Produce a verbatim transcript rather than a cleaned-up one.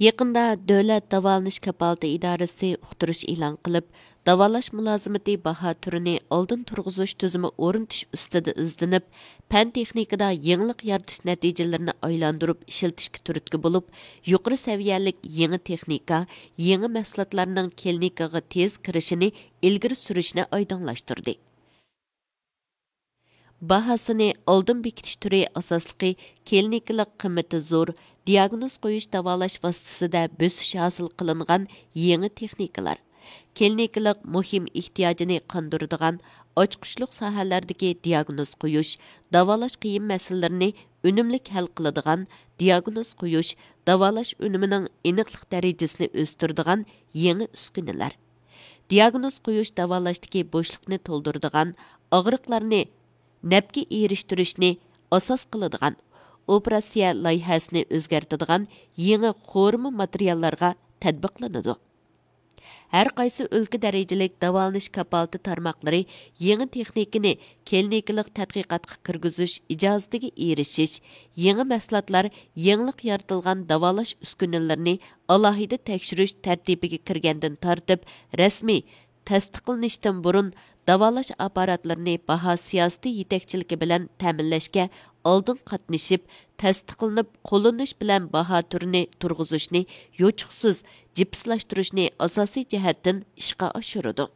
يېقىندا دۆلەت داۋالىنىش كاپالىتى ئىدارىسى ئۇقتۇرۇش ئېلان قىلىپ، داۋالاش مۇلازىمىتى باھا تۈرىنى ئالدىن تۇرغۇزۇش تۈزۈمى ئورنىتىش ئۈستىدە ئىزدىنىپ، پەن تېخنىكىدا يېڭىلىق يارىتىش نەتىجىلىرىنى ئايلاندۇرۇپ ئىشلىتىشكە تۈرتكە بولۇپ، يۇقىرى سەۋىيەلىك يېڭى تېخنىكا، يېڭى مەھسۇلاتلارنىڭ كىلىنىكىغا تېز كىرىشىنى ئىلگىرى سۈرۈشنى ئايدىڭلاشتۇردى. باھاسىنى ئالدىن بېكىتىش تۈرى ئاساسلىقى كلىنىكىلىق قىممىتى زور، دىياگنوز قويۇش داۋالاش ۋاسىتىسىدە بۆسۈش ھاسىل قىلىنغان يېڭى تېخنىكىلار، كلىنىكىلىق مۇھىم ئېھتىياجىنى قاندۇرىدىغان ئاچقۇچلۇق ساھەلەردىكى دىياگنوز قويۇش، داۋالاش قىيىن مەسىلىلىرىنى ئۈنۈملۈك ھەل قىلىدىغان، دىياگنوز قويۇش، داۋالاش ئۈنۈمىنىڭ ئېنىقلىق دەرىجىسىنى ئۆستۈرىدىغان يېڭى ئۈسكۈنىلەر، دىياگنوز قويۇش داۋالاشتىكى بوشلۇقنى تولدۇرىدىغان، ئاغرىقلارنى نەپكە ئېرىشتۈرۈشنى ئاساس قىلىدىغان، ئوپېراتسىيە لايىھەسىنى ئۆزگەرتىدىغان يېڭى قورۇما ماتېرىياللارغا تەتبىقلىنىدۇ. ھەر قايسى ئۆلكە دەرىجىلىك داۋالىنىش كاپالىتى تارماقلىرى يېڭى تېخنىكىنى كلىنىكىلىق تەتقىقاتقا كىرگۈزۈش ئىجازىتىگە ئېرىشىش، يېڭى مەھسۇلاتلار، يېڭىلىق يارىتىلغان داۋالاش ئۈسكۈنىلىرىنى ئالاھىدە تەكشۈرۈش تەرتىپىگە كىرگەندىن تارتىپ، رەسمىي تەستىقلىنىشتىن بۇرۇن داۋالاش ئاپپاراتلىرىنى باھا سىياسىتى يېتەكچىلىكى بىلەن تەمىنلەشكە ئالدىن قاتنىشىپ، تەستىقلىنىپ قوللىنىش بىلەن باھا تۈرىنى تۇرغۇزۇشنى يوچۇقسىز جىپسلاشتۇرۇشنى ئاساسىي جەھەتتىن ئىشقا ئاشۇرىدۇ.